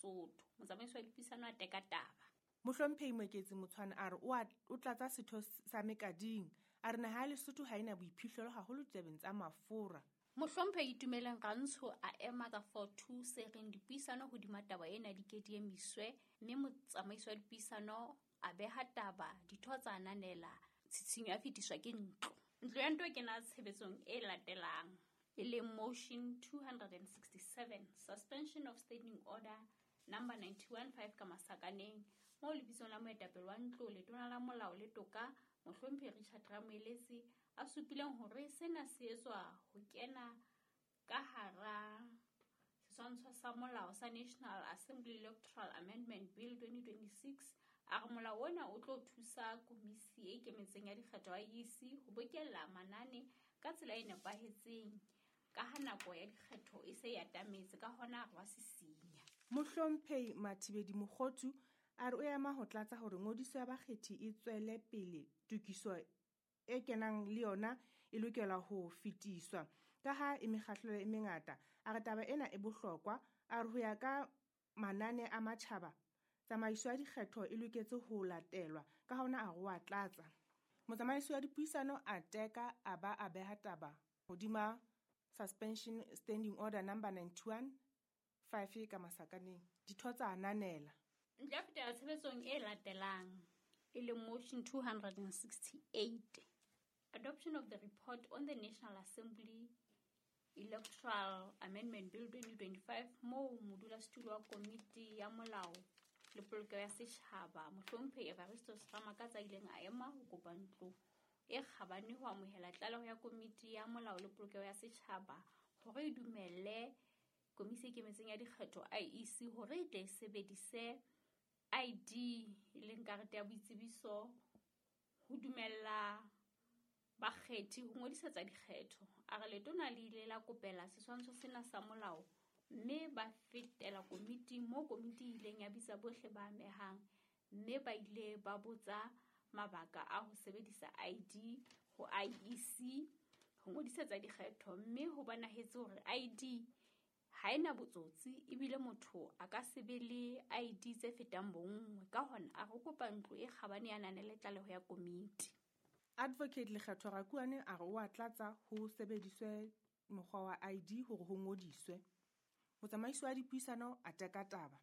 Lesotho. Motsamaisi wa dipuisano a teka taba. Mohlomphehi Moeketsi Motshwane a re o tlatsa setho sa Mekading. A re naha ya Lesotho ha ena boiphihlelo haholo ditabeng tsa mafura. Mohlomphehi Itumeleng Rantsho a ema ka 4-2 se reng dipuisano hodima taba ena di ke di emiswe, mme motsamaisi wa dipuisano a beha taba, ditho tsa ananela, tshitshinyo ya fetiswa ke ntlo. Ntlo ya ntlo e kena tshebetsong e latelang, e leng motion 267, suspension of standing order number 91-5 ka masakaneng, moo lebitsong la moetapele wa ntlo, letona la molao le toka, mohlomphehi Richard Ramoeletsi, a supileng hore sena se etswa ho kena ka hara setshwantsho sa molao sa National Assembly Electoral Amendment Bill 2026. A re molao ona o tlo thusa komisi e ikemetseng ya dikgetho IEC ho bokella manane ka tsela e nepahetseng, ka ha nako ya dikgetho e se e atametse, ka hona re wa sisinya. Mohlomphehi Mathibedi Mokhothu a re o ema ho tlatsa hore ngodiso ya bakgethi e tswele pele, tokiso e kenang le yona e lokela ho fetiswa ka ha e mekgahlelo e mengata. A re taba ena e bohlokwa. A re ho ya ka manane a matjhaba, tsamaiso ya dikgetho e loketse ho latelwa, ka hona a re wa tlatsa. Motsamaisi wa dipuisano a teka a ba a beha taba hodima suspension standing order number 91-5 ka masakaneng. Ditho tsa ananela. Ntlo ya fetela tshebetsong e latelang, e leng motion 268, adoption of the report on the National Assembly Electoral Amendment Bill 2025, moo modulasetulo wa komiti ya molao le polokeho ya setjhaba mohlomphehi Evaristus Ramakatsa a ileng a ema ho kopa ntlo e kgabane ho amohela tlaleho ya komiti ya molao le polokeho ya setjhaba hore e dumelle komisi e ikemetseng ya dikgetho IEC hore e tle e sebedise ID, e leng karete ya boitsebiso, ho dumella bakgethi ho ngodisetsa dikgetho. A re letona le ile la kopela setshwantsho sena sa molao mme ba fetela komiting, moo komiti e ileng ya bitsa bohle ba amehang, mme ba ile ba botsa mabaka a ho sebedisa ID ho IEC ho ngodisetsa dikgetho, mme ho bonahetse hore ID ha ena botsotsi ebile motho a ka se be le ID tse fetang bonngwe. Ka hona a re kopa ntlo e kgabane ya nanele tlaleho ya komiti. Advocate Lekgetho Rakuane a re o a tlatsa ho sebediswe mokgwa wa ID hore ho ngodiswe. Motsamaisi wa dipuisano a teka taba.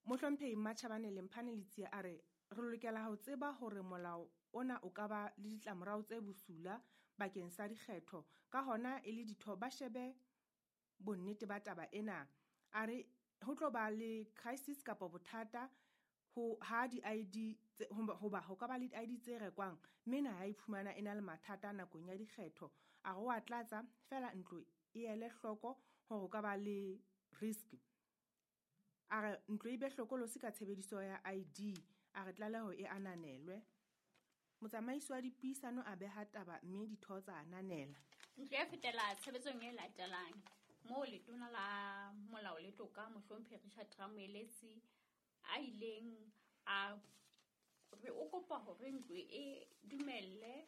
Mohlomphehi Mmatjhabane Lemphane Letsie a re re lokela ho tseba hore molao ona o ka ba le ditlamorao tse bosula bakeng sa dikgetho, ka hona e le ditho ba shebe bonnete ba taba ena. A re ho tlo ba le crisis kapa bothata ho ha di-ID hoba ho ka ba le di-ID tse rekwang, mme naha ya iphumana e na le mathata nakong ya dikgetho. A re wa tlatsa feela ntlo e ele hloko hore ho ka ba le risk. A re ntlo e be hlokolosi ka tshebediso ya ID. A re tlaleho e ananelwe. Motsamaisi wa dipuisano a beha taba mme ditho tsa ananela. Ntlo ya fetela tshebetsong e latelang, moo letona la molao le toka mohlomphehi Richard Ramoeletsi a ileng a re o kopa hore ntlo e dumelle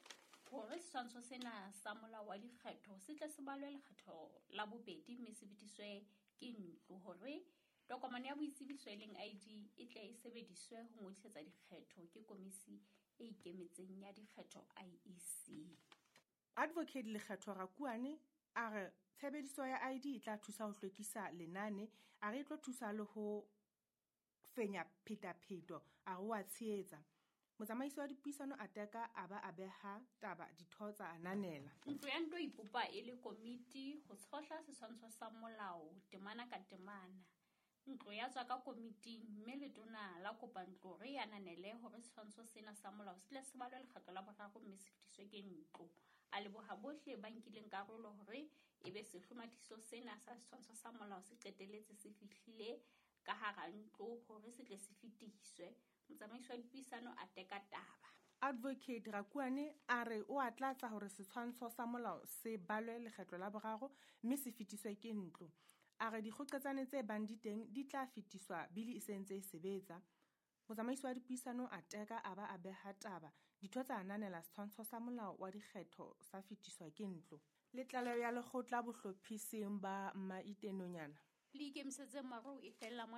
hore setshwantsho sena sa molao wa dikgetho se tle se balwe lekgetho la bobedi mme se fetiswe ke ntlo, hore tokomane ya boitsebiso e leng ID e tle e sebediswe ho ngodisetsa dikgetho ke komisi e ikemetseng ya dikgetho IEC. Advocate Lekgetho Rakuane a re tshebediso ya ID e tla thusa ho hlwekisa lenane, a re e tlo thusa le ho fenya phetapheto, a re wa tshehetsa. Motsamaisi wa dipuisano a teka a ba a beha taba, ditho tsa ananela. Ntlo ya ntlo ipopa e le komiti ho tshohla setshwantsho sa molao temana ka temana. Ntlo ya tswa ka komiting mme letona la kopa ntlo re ananele hore setshwantsho sena sa molao se tle se balwe lekgetlo la boraro mme se fetiswe ke ntlo. A leboha bohle ba nkileng karolo hore ebe sehlomathiso sena sa setshwantsho sa molao se qetelletse se fihlile ka hara ntlo hore se tle se fetiswe. Motsamaisi wa dipuisano a teka taba. Advocate Rakuane a re o a tlatsa hore setshwantsho sa molao se balwe lekgetlo la boraro mme se fetiswe ke ntlo. A re dikgoqetsane tse bang di teng di tla fetiswa bili e sentse e sebetsa. Motsamaisi wa dipuisano a teka a ba a beha taba, ditho tsa ananela setshwantsho sa molao wa dikgetho sa fetiswa ke ntlo. Le tlaleho ya lekgotla bohlophising ba Mmaitenonyana. Le ikemisetse marou e fella mona.